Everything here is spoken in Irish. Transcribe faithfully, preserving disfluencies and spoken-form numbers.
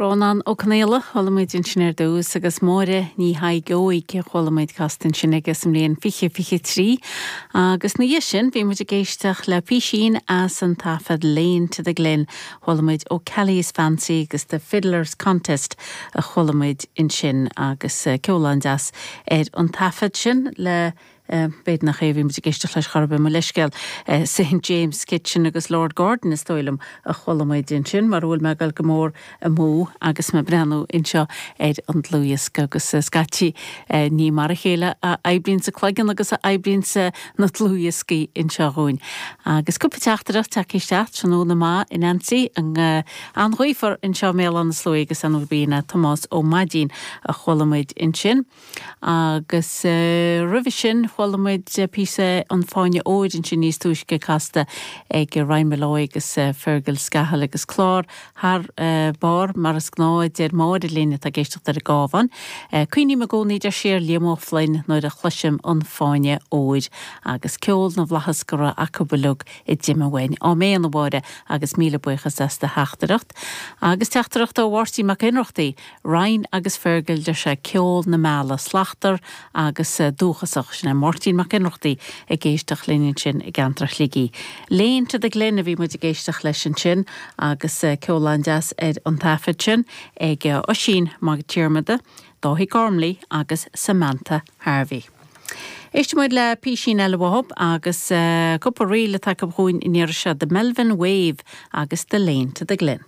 Rónán Ó Conghaile chuala muid ansin ar dtús agus Máire Ní Thaidhg a chuala muid casta ansin aige sa mbliain fiche fiche trí agus ina dhiaidh sin bhí muid ag éisteacht le písín as an taifead Lane to the Glen chuala muid O'Kelly's Fancy agus the Fiddlers Contest a chuala muid ansin agus ceol an-deas ar an taifead sin le B'fhéidir nach é bhí muid ag éisteacht leis chorbe mo leiscéal St James Kitchen agus Lord Gordon is dóigh liom a chuala muid ansin mar bhfuil mé ag dul go mór amú agus mé ag breathnú anseo ar an dlúthdhiosca agus scaití ní mar a chéile a oibríonn an cloigeann agus a oibríonn na dlúthdhioscaí anseo dhúinn. Agus cúpla teachtaireacht tagtha isteach tráthnóna maith a Nancy an an-ghaofar anseo mé an slúí agus an bína Tomás Ó Maidín a chuala muid ansin. Agus uh, roimhe sin chuala muid píosa an Fáinne Óir ansin níos túisce casta ag Ryan Molloy agus uh, Fergal Scahill agus clár thar uh, barr mar is gnáth deir Máire linn atá ag éisteacht ar an gCabhán. Uh, Cuimhním i gcónaí deir sí ar Liam Ó Floinn nuair a chloisim an Fáinne Óir agus ceol na bhflaitheas go raibh acu uilig a d'imigh uainn. Áiméan a Mháire agus míle buíochas as do theachtaireacht. Agus teachtaireacht ó Mháirtín Mac Ionnrachtaigh, Ryan agus Fergal deir sé ceol na meala slachtmhar agus dúchasach sin é Máirtín Mac Ionnrachtaigh ag éisteacht linn ansin i gceantar Shligigh. Lane to the Glen a bhí muid ag éisteacht leis ansin agus ceol an-deas ar an taifead sin ag Oisín Mag Diarmada, Dáithí Gormley agus Samantha Harvey. Éistfidh muid le písín eile uathub agus uh, cúpla ríl atá chugainn in se the Melvin Wave agus the Lane to the Glen.